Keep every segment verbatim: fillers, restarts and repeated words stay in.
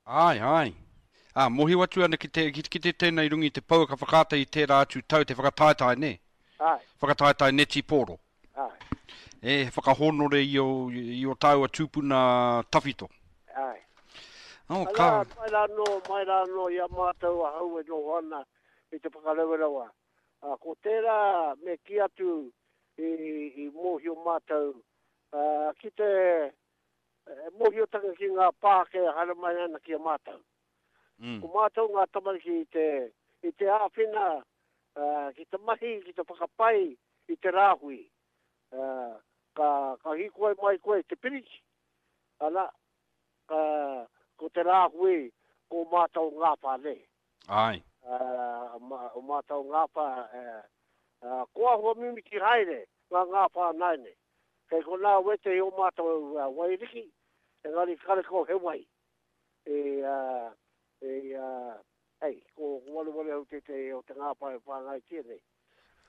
Āe, āe. Ā, mōhio atu ana ki te, ki, ki te tēnei runga i te pouaka whakaata i tērā atu tau te whakataetae, nē? Āe. Whakataetae netipōro. Āe. E, he whakahōnore i o, i o tāua tūpuna tawhito. Āe. Oh, Arā, ka... mai rā anō, mai rā anō i a mātou ahau e noho ana i te whakarewarewa. Ā, ko tērā me kī atu i, i mōhio mātou, ā, ki te mōhiotanga ki ngā pākē e haere mai ana ki a mātou. Mm. Ko mātou ngā tamariki i te, i te āwhina uh, ki te mahi, ki te whakapai i te rāhui. Uh, ka, ka hīkoi mai koe i te piriti, ana, ka, ko te rāhui ko mātou ngāwhā nei. Ai. Uh, ma, o mātou ngāwhā, uh, uh, ko ahua mimiti haere ngā ngāwhā nai nei. Kei konā wētehi o mātou uh, wairiki, engari karekau he wai. E, uh, e, uh, hei, ko, ko wareware au tētehi o te ngāwhā e whāngaitia nei.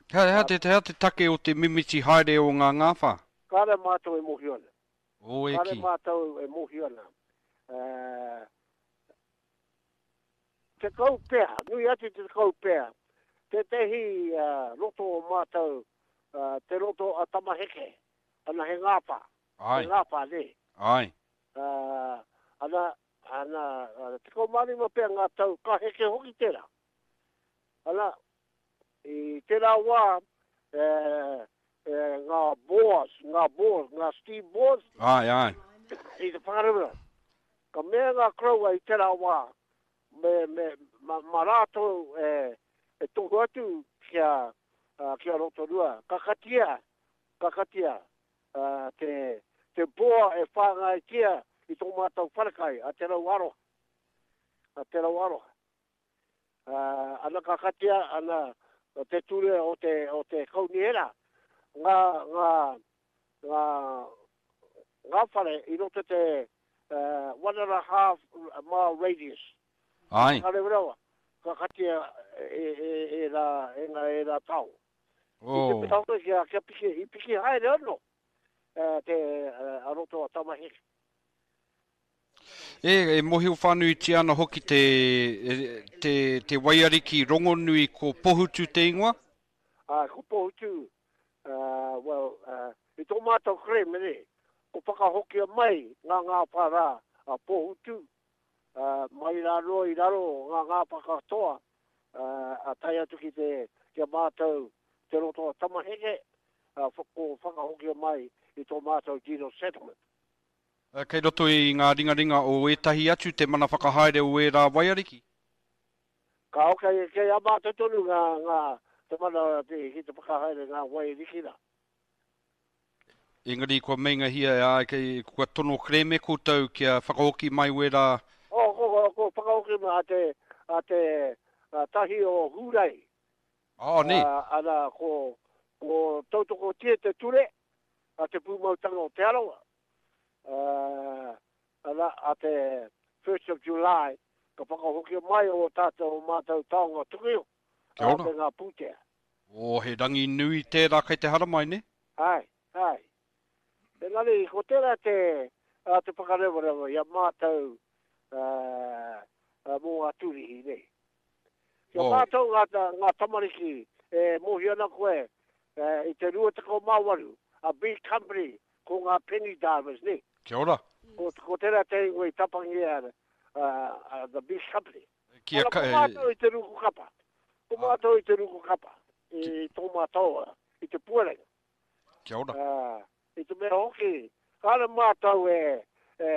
Hea, hea, te, hea te take o te mimiti haere o ngā ngāwhā? Kāre mātou e mōhio ana. O e Kāre ki. mātou e mōhio ana. Uh, tekau pea, nui atu te tekau pea, tētehi uh, roto o mātou, uh, te roto a Tamaheke, ana he ngāwhā, Ai. he ngāwhā, nē. Ai. Uh, ana, ana, uh, tekau mā rima pea ngā tau, ka heke hoki tērā. Ana, i tērā wā, e, e, ngā bores, ngā bores, ngā steam bores, Ai, ai. i te whakarewera. Ka mea ngā koroua i tērā wā, me, me, ma, ma rātou e, e tohu atu kia, uh, kia Rotorua. Ka katia, ka katia uh, te, te boa e whāngaitia i tō mātou wharekai, a Te Rau Aroha. A Te Rau Aroha. Uh, ana ka katia, ana te ture o te, o te kaunihera, ngā, ngā, ngā, ngā whare i roto te uh, one and a half mile radius. Ai. Ka rewa, ka katia e, e, e, rā, e ngā e rā tao. I te Oh. mea hoki kia, kia piki, i piki haere anō uh, te uh, a roto a Tamaheke. E, e mohio whānuitia ana hoki te, e, te, te waiariki rongonui ko Pohutu te ingoa? Uh, ko Pohutu, uh, well, uh, i tō mātou kerēme nei, ko whakahokia mai ngā ngāwhā rā a Pohutu, uh, mai rā noa i raro ngā ngāwhā katoa, uh, a tae atu ki te, ki a mātou te roto a Tamaheke, uh, ko whakahokia mai i tō mātou deed of settlement. Kei roto i ngā ringaringa o ētahi atu te mana whakahaere o ērā waiariki? Ka kei, kei a mātou tonu ngā, ngā te mana te, ki te whakahaere ngā waiariki rā. Engari kua meingahia e ai, kei, kua tono kerēme koutou kia whakahoki mai wērā? O, ko, ko, ko whakahoki mai a te, a te a tahi o Hūrai. Oh, nē. Uh, ana, ko, ko tautokotia te ture a te pūmautanga o Te Arawa. Uh, ana, a te first of July, ka whakahoki mai o tātou o mātou taonga tuku iho, Kia a ora. te ngā pūtea. O, he rangi nui tērā kei te haramai, ne? Ai, ai. Engari, ko tērā te, a, te whakarewarewa i a mātou uh, uh, mō ngā tūrihi, nei. Kia Oh. mātou ngā, ngā tamariki e mōhio ana koe e, i te rua tekau mā waru, a big company, ko ngā penny divers, ne? Kia ora. Ko, ko tērā te ingoa i tapangia uh, uh, the big company. Kia Ana, ka, ko mātou i te ruku kapa. Ko mātou i te ruku kapa. I tō mātou, i te puarenga. Kia ora. Uh, i te mea hoki, kāre mātou e, e,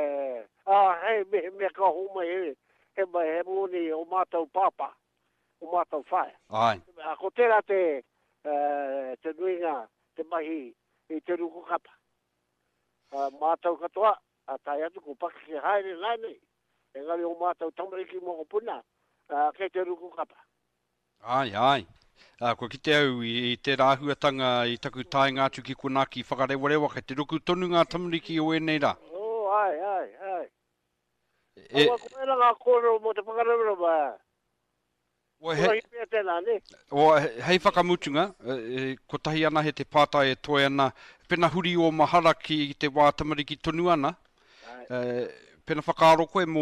a, hei, me, me ka homai he, he mai he moni o mātou pāpā, o mātou whaea. Ai. A, ko tērā te, uh, te nuinga, te mahi i te ruku kapa. Uh, mātou katoa, a tae atu ko pakeke haere nānei, engari o mātou tamariki mokopuna, uh, kei te ruku kapa. Ai, ai. Uh, kua kite au i, i tērā āhuatanga i taku taenga atu ki konā ki whakarewarewa, kei te ruku tonu ngā tamariki o ēnei rā. Oh, ai, ai, ai. E, Aua, ko ērā ngā kōrero mō te whakarewarewa. o, he, Kotahi pea tēnā, ne? o, hei whakamutunga, e, e, kotahi ana he te pātai e toe ana, pena huri o mahara ki te wā tamariki tonu ana, Ai. e, pena whakaaro koe mō